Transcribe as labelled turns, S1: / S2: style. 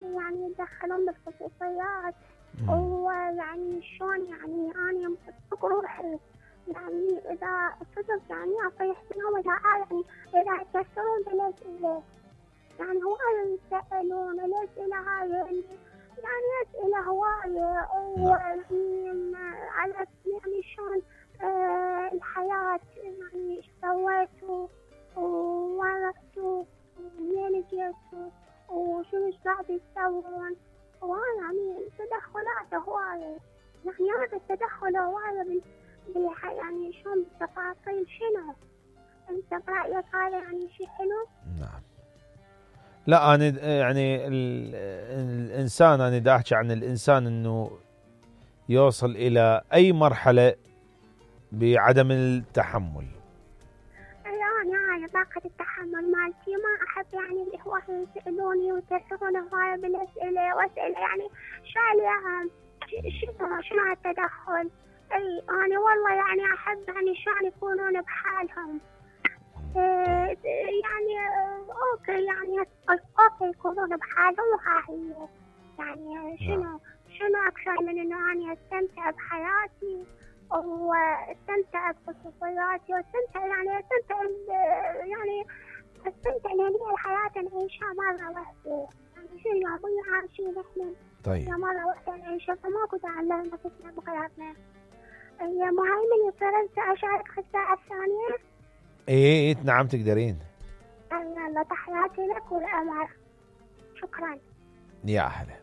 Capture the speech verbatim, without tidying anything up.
S1: يعني يتدخلون بالخصوصيات، ويعني شلون يعني أنا بصدق روحي يعني إذا صدق يعني أطيح فيهم إذا يعني إذا يكسرون بالأسئلة، يعني هواية يسألون الأسئلة هاي يعني أسئلة هواية ويعني على يعني شلون آه الحياة يعني ايش سويتوا ووين رحتوا ومنين جيتوا وشنو ايش قاعد تسوون، ويعني تدخلات هواية يعني هذا التدخل هواية بال يعني شلون بالتفاصيل. شنو انت برأيك هذا يعني شيء حلو؟
S2: نعم. لا أنا يعني الإنسان، أنا دا أحكي عن الإنسان إنه يوصل إلى أي مرحلة بعدم التحمل.
S1: يعني هاي طاقة التحمل مالتي ما أحب يعني اللي هو يسألوني ويكسرون هواية بالأسئلة وأسئلة يعني شاليهم شنو شنو التدخل. أي أنا والله يعني أحب يعني شلون يكونون بحالهم. إيه يعني أوكي يعني أوكي يكونون بحالهم وهاي يعني شنو شنو أكثر من إنه أنا أستمتع بحياتي واستمتع بخصوصياتي واستمتع يعني استمتع يعني استمتع لأن هي الحياة نعيشها مرة واحدة، يعني شو يوميا عايشين احنا
S2: طيب
S1: مرة واحدة نعيشها فماكو داعي لنا نفسنا بغيرنا. يا مهيمن فرنسا أشارك في الساعة الثانية؟
S2: ايه نعم تقدرين.
S1: يلا تحياتي لك والأمر. شكرا.
S2: يا أهلا.